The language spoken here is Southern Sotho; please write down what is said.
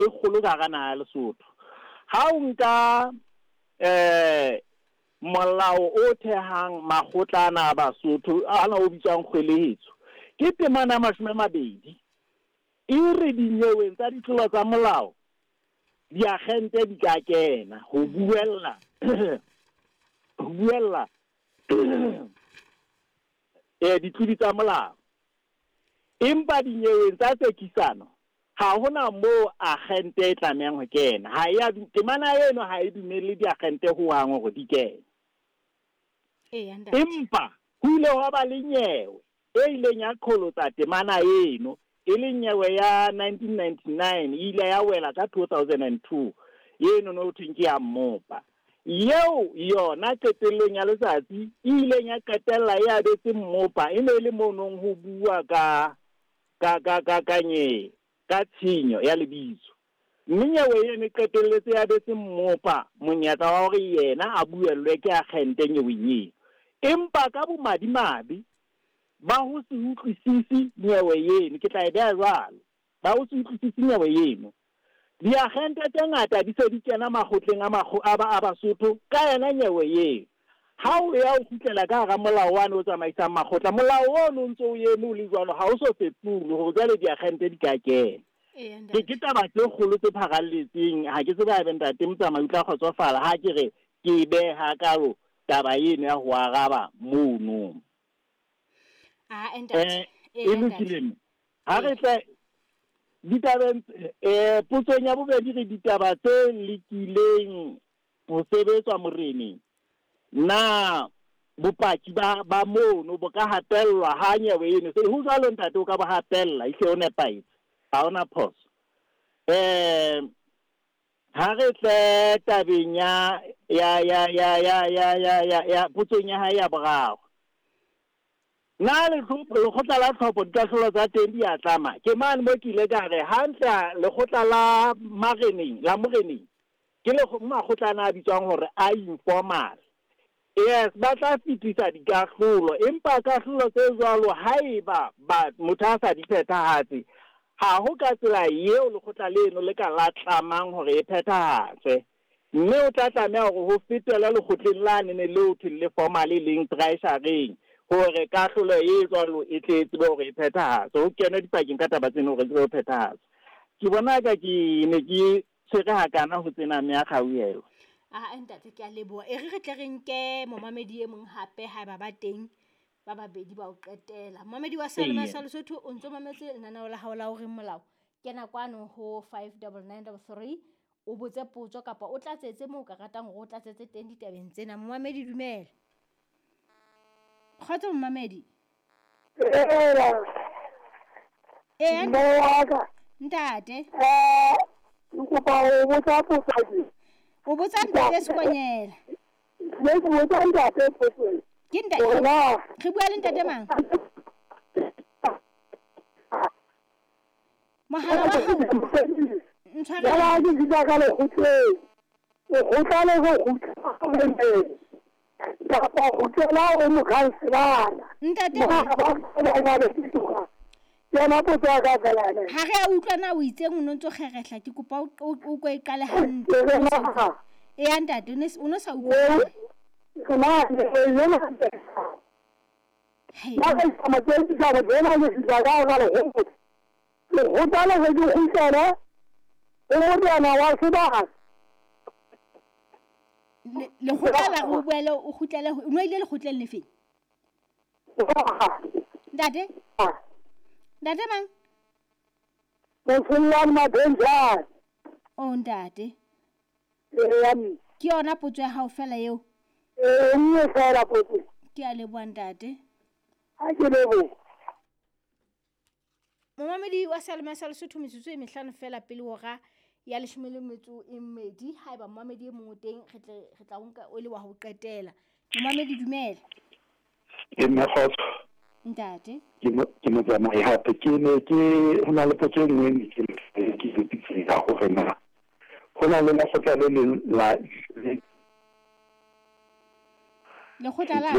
e kgolo ka hara naha ya Lesotho. Ha o nka um molao o thehang makgotla ana a Basotho, ana o bitswang kgwelehetso, ke temana ya 20, e re dinyeweng tsa ditlolo tsa molao diagente di ka kena ho buella ho buella ditlodi tsa molao. Empa dinyeweng tsa tsekisano ha hona moo agente e tlamehang ho kena. Ha e a temana eno ha e dumelle diagente hohang hore di kene. Empa ho ile hwa ba le nyewe e ileng ya qholotsa temana eno, e leng nyewe ya 1999, e ile ya wela ka 2002, eno no thweng ke ya mmopa. Eo yona qetellong ya letsatsi e ileng ya qetella e abetse mmopa, e ne e le mo nong ho bua ka ka ka ka ka nye ka tshenyo ya lebitso. Mme nyewe eno e qetelletse ya abetse mmopa monyetla wa hore yena a buellwe ke agente nyeweng eo. Empa ka bomadimabe ba ho se utlwisise nyewe eno, ke tla e beha jwalo, ba ho se utlwisise nyewe eno, diagente tse ngata di se di kena makgotleng a a Basotho ka yona nyewe eo. Ha o ya o kgutlela ka hara molao wane o tsamaisang makgotla, molao ono o ntso o eme o le jwalo, ha o so fetolwe hore jwale diagente di ka kena. Ke ke taba tse kgolo tse pharalletseng. Ha ke tsebe haebe ntate Motsamai o tla kgotsofala ha ke re ke beha kalo taba eno ya ho araba mono. E lokile mme. Ha re tla ditabeng, potsong ya bobedi, re ditaba tse lekileng ho sebetswa moreneng, na bopaki ba ba mono bo ka hatellwa ha nyewe eno se ho jwalo? Ntate, o ka bo hatella, ehlile o nepahetse, ha hona phoso. Ha re tle tabeng ya ya ya ya ya ya ya ya ya potsong ya hae ya boraro, na lekgotla la tlhopho dikahlolo tsa teng di a tlama? Ke mane mo ke ile ka re hantle lekgotla la mareneng, la moreneng, ke le makgotla ana a bitswang hore a informal. Yes, ba tla fetisa dikahlolo, empa kahlolo tse jwalo haeba ba motho a sa di phethahatse, ha ho ka tsela eo lekgotla leno le ka la tlamang hore e phethahatswe. Mme o tla tlameha hore ho fetele lekgotleng lane ne leo thweng le formal, e leng treasureng, hore kahlolo e jwalo e tle e tsebe hore e phethahatswe, ho kenwe dipakeng ka taba tseno hore e tsebe ho phethahatswa. Ke bona ka ke ne ke tshwere hakana ho tsena mme a kgauhelwa. Aa ntate, ke a leboha. E re re tle re nke momamedi e mong hape, haeba ba teng ba babedi ba o qetela. Momamedi wa Seyalemoya sa Lesotho, o ntso mametse lenaneo la hao la O Reng Molao. Kena kwano ho 59933, o botse potso kapa o tlatsetse moo o ka ratang hore o tlatsetse teng ditabeng tsena. Momamedi, dumela. Kgotso momamedi. Ee, ntate. Ke kopa ho botsa potso ke. O botsa ntate Sekonyela. Ne ke botsa ntate potso. Ke ntate. Re bua le ntate mang? Mohala wa hao. Ntshware. Ya ke bitsa ka lekgotleng. Lekgotla le go kgutla kapa ho kgutlela ho mokhanselara. Ntate. Yona potso ya ka fela ene. Ha re a utlwa na o itseng, o no ntso kgerehla, ke kopa o ko e qale hantle. Eya ntate, o no sa utlwa. Na yona Hei. Na ka isa matsatsi ka re tsena ke fihla ka hara lekgotla. Lekgotla le re ke kgutlele ho morena wa sebaka. Lekgotla la re o boele o kgutlele, o no ile lekgotleng le feng? Ntate? Ntate mang? Motshollwane Mabenjane. Oh ntate. Eya mme. Ke yona potso ya hao fela eo? Ee, nngwe fela potso. Ke a leboha ntate. Ha ke leboha. Momamedi wa Seyalemoya sa Lesotho, metsotso e 5 fela pele hora ya 12. Haeba momamedi e mong o teng, re tle re tla o nka o le wa ho qetela. Momamedi, dumela. Ke mme kgotso. Ntate. Ke motsamai hape. Ke ne ke ho na le potso e nngwe ne ke ke ke ya hore na ho na le lekgotla le leng la Lekgotla la